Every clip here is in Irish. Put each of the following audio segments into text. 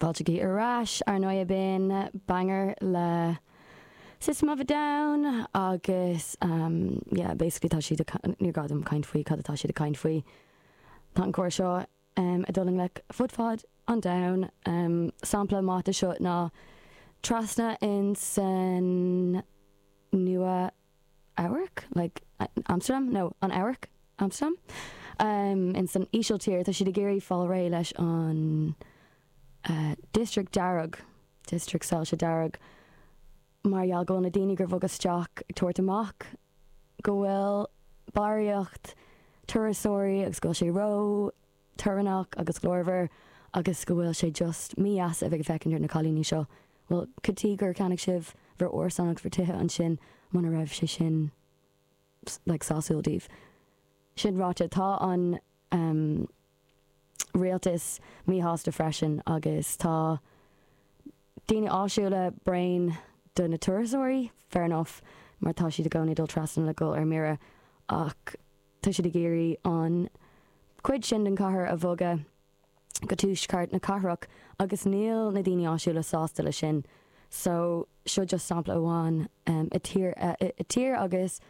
Fáilte chugaibh ar ais, ar ndóigh b'in banger le System of a Down agus yeah basically tá siad ag, níor ghá dom caint faoi cad atá siad ag caint faoi. Tá an cor seo ag dul i ngleic fud fad an domhain. Sampla maith de seo ná trasna in san Nua Eabhrac? Like, Amsterdam? No, an Eabhrac? Amsterdam? In san Ísiltír, tá siad ag iarraidh fáil réidh leis an district dearg, district soilse dearg, mar gheall go bhfuil na daoine gur bhog isteach ag tabhairt amach go bhfuil barraíocht turasóirí agus go bhfuil sé ró torannach agus glórmhar agus go bhfuil sé just mídheas a bheith ag féachaint ar na cailíní seo. Bhuel, cad tuige gur cheannaigh sibh bhur árasán agus bhur tithe ansin muna raibh sé sin like sásúil daoibh? Sin ráite, tá an ehm rialtas míshásta freisin agus tá daoine áitiúla bréan de na turasóirí, fair enough, mar tá siad i gcónaí ag dul trasna le dhul ar mire ach Tá siad ag iarraidh an chuid sin den chathair a bhogadh go tuaisceart na cathrach agus níl na daoine áitiúla sásta le sin. So, seo just sampla amháin i tír i tír agus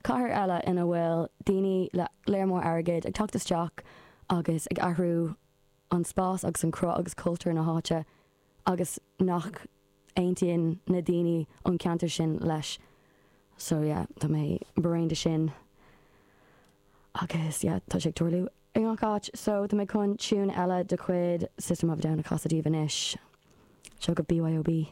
cathair eile ina bhfuil daoine le léar mór airgid ag teacht isteach agus ag athrú an spás agus an cruth agus cultúr na háite agus nach aontaíonn na daoine ón ceantar sin leis. So yeah, tá mé bréan de sin agus yeah, tá sé ag tarlú i ngach áit. So tá mé chun tune eile de chuid System of a Down a chasadh daoibh anois. Seo go BYOB.